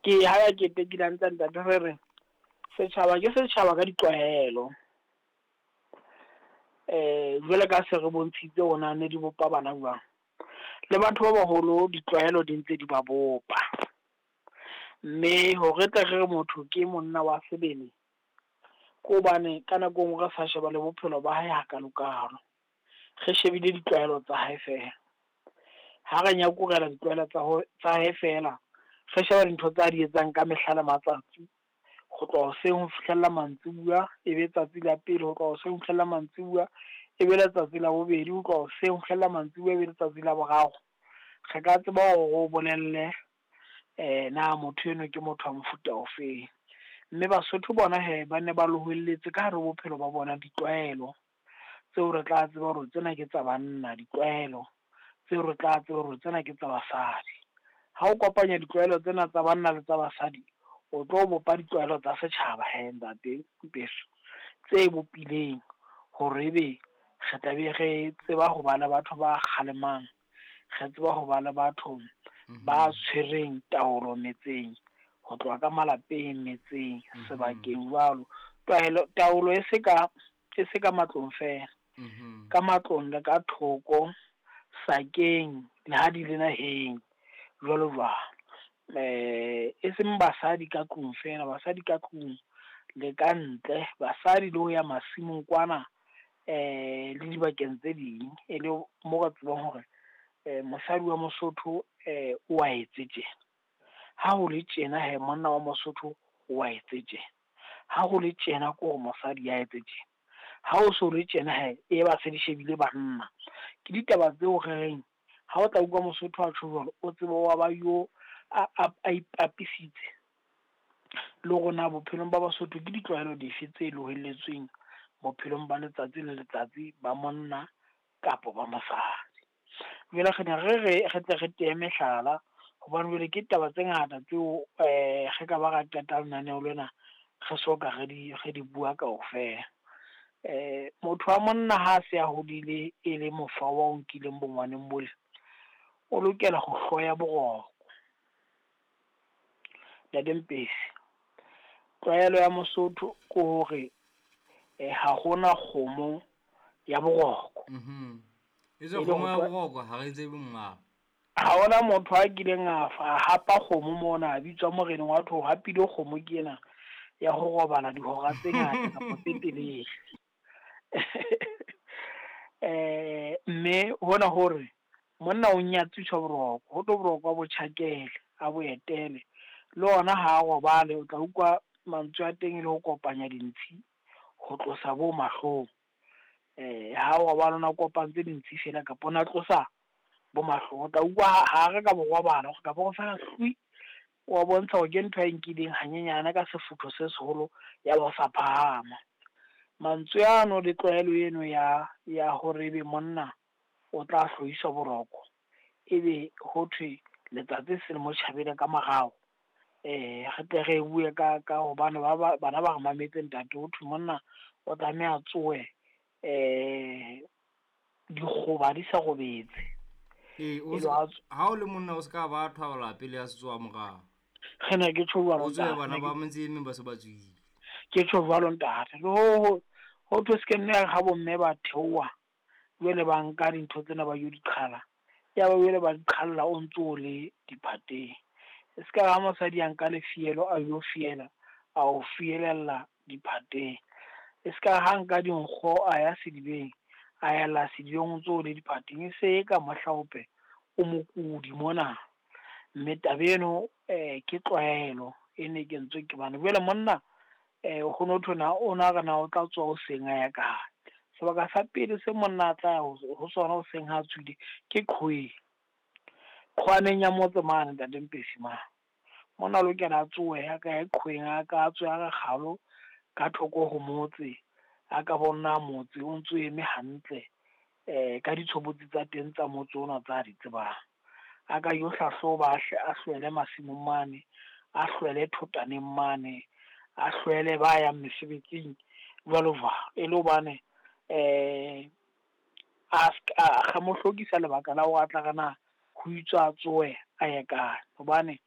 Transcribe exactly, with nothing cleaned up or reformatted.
Ke ha ya ketekile hantle ntate re re setjhaba ke setjhaba ka ditlwaelo. Eh jwale ka se re bontshitse hore na ne di bopa bana jwang. Le batho ba baholo ditlwaelo di ntse di ba bopa. Mme hore tle re re motho ke monna wa sebele, ke hobane ka nako e nngwe re sa sheba le bophelo ba hae hakalo kalo. Re shebile ditlwaelo tsa hae fela. Ha re nyakurela ditlwaelo tsa ho tsa hae fela, re sheba dintho tsa di etsang ka mehla le matsatsi. Ho tloha hoseng ho fihlella mantsibuya, e be tsatsi la pele ho tloha hoseng ho fihlella mantsibuya, e be letsatsi la bobedi ho tloha hoseng ho fihlella mantsibuya, e be letsatsi la boraro. Re ka tseba hore o bolelle na motho enwa ke motho wa mofuta ofeng. Mme Basotho bona hee ba ne ba lohelletse ka hare ho bophelo ba bona ditlwaelo tseo re tla tseba hore tsena ke tsa banna, ditlwaelo tseo re tla tseba hore tsena ke tsa basadi. Ha o kopanya ditlwaelo tsena tsa banna le tsa basadi, o tlo bopa ditlwaelo tsa setjhaba hee ntate Mpeso, tse bopileng hore ebe re tla be re tseba ho ba le batho ba kgalemang, re tseba ho ba le batho ba tshwereng taolo metseng, ho tloha ka malapeng, metseng, sebakeng jwalo. Taelo, taolo e se ka, e se ka matlong fela. Ka matlong le ka thoko, sakeng, le ha di le naheng, jwalo jwalo. Eh, e seng basadi ka tlung fela, basadi ka tlung le ka ntle, basadi le ho ya masimong kwana, eh le dibakeng tse ding, e le mo re tsebang hore eh mosadi wa Mosotho eh o a etse tjena. Ha ho le tjena he monna wa Mosotho o a etse tjena. Ha ho le tjena ke hore mosadi ya etse tjena. Ha o so le tjena he e ba se di shebile banna. Ke ditaba tseo re reng ha o tla utlwa Mosotho a tjho jwalo, o tsebe wa ba yo a a ipapisitse le hore na bophelong ba Basotho ke ditlwaelo dife tse lohelletsweng bophelong ba letsatsi le letsatsi ba monna kapa ba mosadi. Jwale re ne re re re tle re teye mehlala, hobane jwale ke taba tse ngata tseo eh re ka ba ra qeta lenaneo lena re soka re di re di bua kaofela. Eh motho wa monna ha se a hodile e le mofa wa o nkileng bongwaneng bole, o lokela ho hloya boroko. Ntate Mpesi, tlwaelo ya Mosotho ke hore eh ha hona kgomo ya boroko. Mhm. E tswe kgomo ya boroko ha re tsebe monga. Ha hona motho a kileng a fa hapa kgomo mona, a bitswa moreneng wa tho hapile kgomo ke ena ya ho robala dihora tse ngata kapa tse telele. Eh mme hona hore monna o nyatsiswa boroko, ho tlo boroko a bo tjhakele, a bo etele. Le ona ha a robale, o tla utlwa mantswe a teng e le ho kopanya dintshi ho tlosa bo mahlong. Eh ha o robala ona kopantse dintshi fela kapa ona tlosa bo mahlong, o tla utlwa ha re ka bo robala kapa go fela hlwi, wa bontsha hore ke ntho e nkileng hanyenyane ka sefutho se seholo ya ba sa phahama. Mantswe ano le tlwaelo eno ya ya hore ebe monna o tla hloiswa boroko, ebe ho thwe letsatsi se le mo tjhabele ka morao. Eh re tle re bue ka ka hobane ba ba bana ba re mametse ntate, ho thwe monna o tlameha tsohe eh dikgoba di sa robetse. Eh o ha o le monna o ska ba thwala pele ya setsoa morao. Re ne ke tjho jwalo. O tswe bana ba motse e meng ba se ba tswile. Ke tjho jwalo ntate. Le ho ho thwe se ke nne ha bomme ba theoha jwale ba nka dintho tsena ba yo di qhala. Ya ba jwale ba di qhalla o ntso o le diphateng. E ska ha mosadi a nka lefielo a yo fiela, a o fielella diphateng. E ska ha nka dinkgo a ya sedibeng, a ela sedibeng o ntso o le diphateng. E se e ka mohlaope o mokudi mona. Mme taba eno eh ke tlwaelo e ne kentswe ke bana. Jwale monna eh ho no thwe na o na re na o tla tswa hoseng a ya kae. Sebaka sa pele se monna a tla ya ho sona hoseng ha tswile ke qhoweng. Qhwaneng ya motse mane ntate Mpesi mane. Monna o lokela a tsohe a ka ya qhoweng, a ka tswe a re kgalo ka thoko ho motse, a ka bona motse o ntso eme hantle eh ka ditshobotsi tsa teng tsa motse ona tsa di tsebang. A ka yo hlahloba, a hlwele masimong mane, a hlwele thotaneng mane, a hlwele ba yang mesebetsing jwalo jwalo. E le hobane eh a a mo hlokisa lebaka la hore a tla re na ho itswa a tsohe a ye kae. Hobane